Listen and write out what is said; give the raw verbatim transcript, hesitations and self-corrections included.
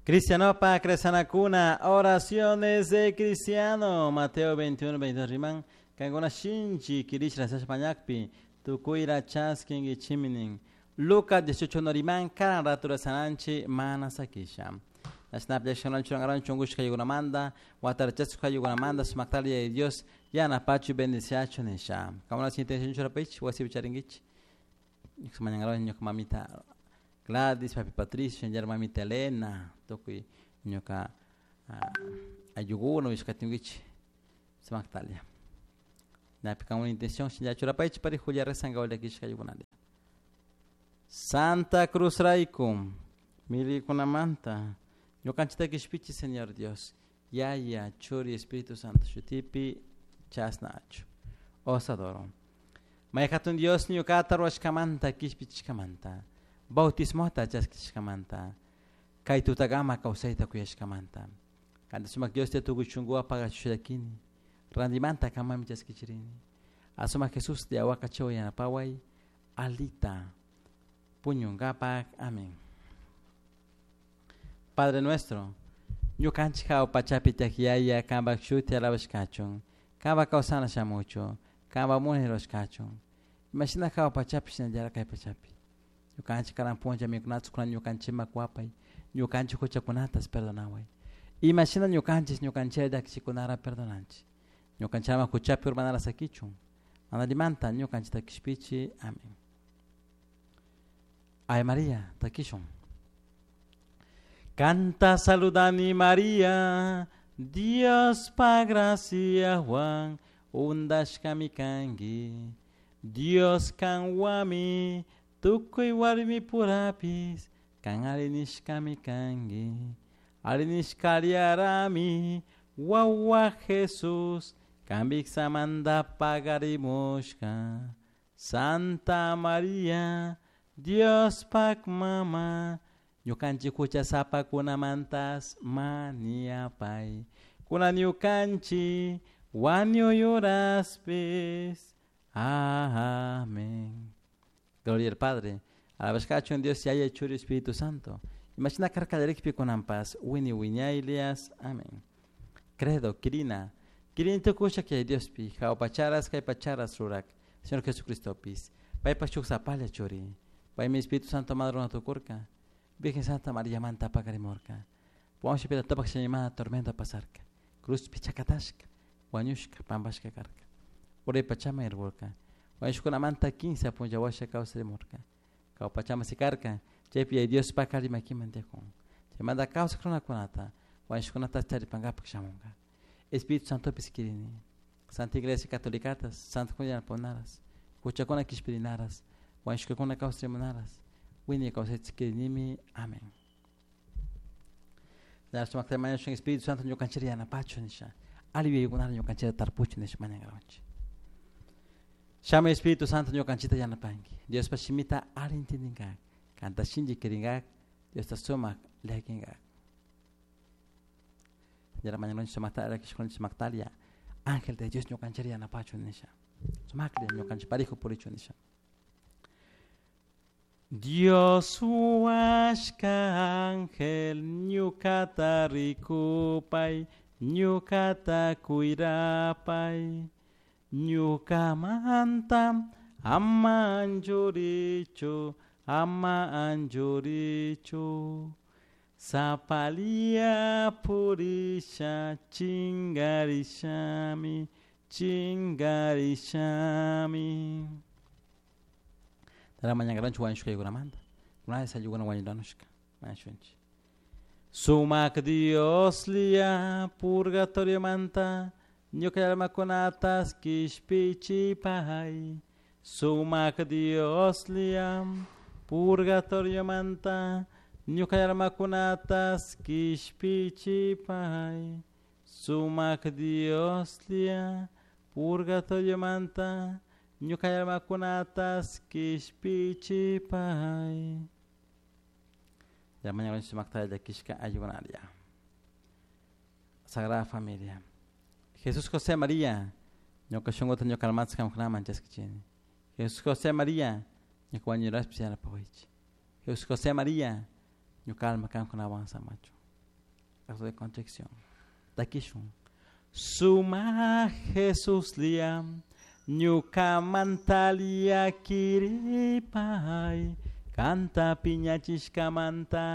Cristianopa Cresanacuna, oraciones de cristiano, Mateo veintiuno, veintidós riman, cancuna shinchi kirishra sashpañakpi, tukuyra chaskinkichiminin. Lucas dieciocho no riman, karan ratura sananchi mana sakisha. Manda, manda, sumaktalia de Dios, yana pachu bendiciacho nisha. Kama na intención churapich, wasi bicharinguich. Mamita Gladys, papi Patricio, mamita Elena, tukuy ñuka ayuguno ishkatinguich, sumaktalia. Napi kama intención churapich pari Julia rezanga olakishka ayugunalia. Santa Cruz Raikum, milikunamanta. Ñukanchita kishpichi, Señor Dios, Yaya, Churi, Espíritu Santo, Shutipi, Chasnachu. Os adoro. Mayhatun Dios ñukata ruwashkamanta, kishpichishkamanta, bautismota chaskishkamanta, kay tutagama kawsayta kuyashkamanta. Kanta sumak Dios te tukuy shunkuwa pagachushakini, randimanta kamami chaskichirini. Asumak Jesús de awakachaw yanapaway, alita, puñungapak. Amén. Padre nuestro, ñukanchik hawa pachapi tiyaq kanpak shuti alabashkachun, kanpak kawsana shamuchun, kanpak munay rurashkachun. Imashina hawa pachapi shinallara kay pachapi. Ñukanchik karan punlla mikunata kunan ñukanchikman kuwapay, ñukanchik huchakunatas perdonaway. Imashina ñukanchik ñukanchik llakichikunara perdonanchik. Ñukanchikman huchapi urmanara sakichun. Manalimanta ñukanchikta kishpichi. Amén. Ay María, takishun. Canta saludani María, Dios pa gracia Juan, undashkami kanki. Dios kanwami, tukuy warmi purapis, kan arinishkami kanki. Arinishkariarami, wawa Jesús, kambiksamanta pagarimushka. Santa María, Dios pak mama, ñukanchik huchasapakunamantas maniapay. Kunan ñukanchik wañuyuraspis. Amén. Gloria al Padre, alabashkachu en Dios Yaya, Churi, Espíritu Santo. Imagina karkallarikpi kunanpas, wini wiñaylias. Amén. Credo, Kirina. Kirin tukusha que Diospi, jaupacharas, kaypacharas rurak, Señor Jesucristo pis. Paypa chuksapalla churi. Paymi Espíritu Santo madre tukurka. Virgen Santa María manta pakarimorka. Ponche pita tapak shañimana tormenta pasarka. Cruz pichakatashka, wañushka, pampashka karka. Uray pachama irburka. Wañushkuna manta quince punllawasha kawsarimurka. Kawpachama sikarka, chaypi ay Dios pakari makiman tiyakun. Chaymanta kawsak runakunata, wañushkunata charipankapak shamunka. Espíritu Santo piskirini. Santa Iglesia Catolicatas, Santa Juliana Ponaras, huchakuna kishpirinaras, wañushkakuna kawsarimunaras. Wini kawsaychikirinimi. Amén. Espíritu Santo ñukanchik yanapachu nisha. Aliyuykunata ñukanchikta tarpuchu nisha mañankawanchik. Shama Espíritu Santo ñukanchikta yanapanki. Diospa shimita alli intindinkak. Kanta shinchi kirinkak. Diosta sumak llakinkak. Yara mañanonchik sumakta llakishkunchik sumaktalia. Ángel de Dios ñukanchik yanapachu nisha. Sumaklla ñukanchik parijo purichu nisha. Dios huashka ángel ñukata rikupay, ñukata kuyrapay, ñukamanta ama anchurichu, ama anchurichu. Sapalia purisha chingarishami, chingarishami. Tara mañankaranchik wañushkaykunamanta. Kunanka ayllukuna wañuranushka mañashunchik. Sumak Dios lia purgatoriomanta ñuka almakunatas kishpichipay. Sumak Dios lia purgatoriomanta ñuka almakunatas kishpichipay. Sumak Dios lia purgatoriomanta ñuka almakunatas kishpichipay. Ya mañana sumakta llakishka ayunaria. Sagrada Familia. Jesús José María, ñuka shunkuta ñuka almata qamkunaman chaskichini. Jesús José María, ñuka wañuraspi yanapawaychik. Jesús José María, ñuka alma qamkunawan samachu. Acto de contrición. Takishun. Sumaj Jesuslla ñucamanta llaquiripai canta piñachishcamanta.